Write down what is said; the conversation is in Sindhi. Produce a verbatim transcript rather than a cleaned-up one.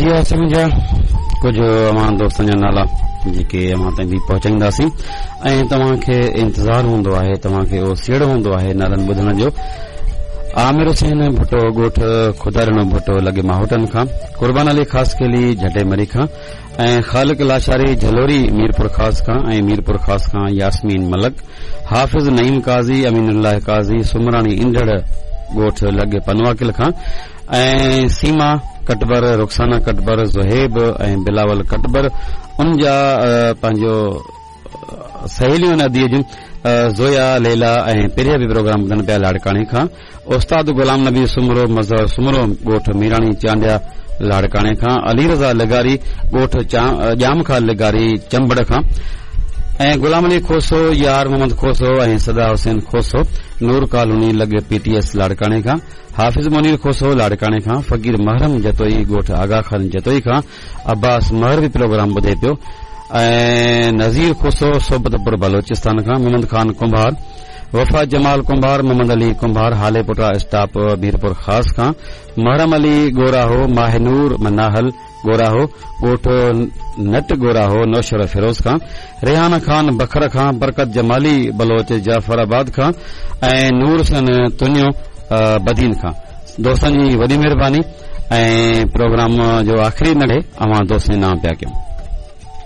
جي ها سمجهيا ڪجهه اوهان دوستن جا نالا جيڪي اوهان تائين به پهچائينداسين ۽ توهان کي انتظار هوندو آهي، توهان کي اوسيئڙو هوندو آهي نالن ٻڌڻ جو. عامر حسين ڀٽو ڳوٺ خدا ڏنو ڀٽو لڳي ماهوٽن کان، قربان علي خاصخيلي جهٽي مري کان ۽ خالق لاشاري جهلوري ميرپور خاص کان ۽ ميرپور خاص کان ياسمين ملڪ، حافظ نعيم قاضي، امين الله قاضي، سمراڻي انڍڙ ڳوٺ لڳ پنواڪل کان ۽ سيما ڪٽبر، رخسانه ڪٽبر، زهيب ۽ بلاول ڪٽبر، ان جا پنهنجو سهيليون اديء جون زويا، ليلا ۽ پريا به پروگرام ٻڌن پيا لاڙڪاڻي کان. استاد غلام نبي سومرو، مظهر سومرو ڳوٺ ميراڻي چانڊيا لاڙڪاڻي کان، علي رضا لغاري ڳوٺ ڄام خان لغاري چمبڙ کان ۽ غلام علي کوسو، يار محمد کوسو ۽ صدا حسين کوسو نور ڪالوني لڳ پي ٽي ايس لاڙڪاڻي کان، حافظ منير کوسو لاڙڪاڻي کان، فقير محرم جتوئي ڳوٺ آغا خان جتوئي کان، عباس مهر به پروگرام ٻڌي پيو ۽ نذير کوسو صحبت پور بلوچستان کان، محمد خان ڪنڀار، وفا جمال ڪنڀار، محمد علي ڪنڀار هاليپوٽا اسٽاپ ميرپور خاص کان، محرم علي ڳوراهو، ماهه نور مناهل ڳوراهو ڳوٺ نٽ ڳوراهو نوشهرو فيروز کان، ريحان خان بکر کان، برڪت جمالي بلوچ جعفر آباد کان ۽ نور حسين تنيو بدين کان. دوستن جي وڏي مهرباني ۽ پروگرام جو آخري نڙي اوهان دوستن جي نام پيا ڪيون.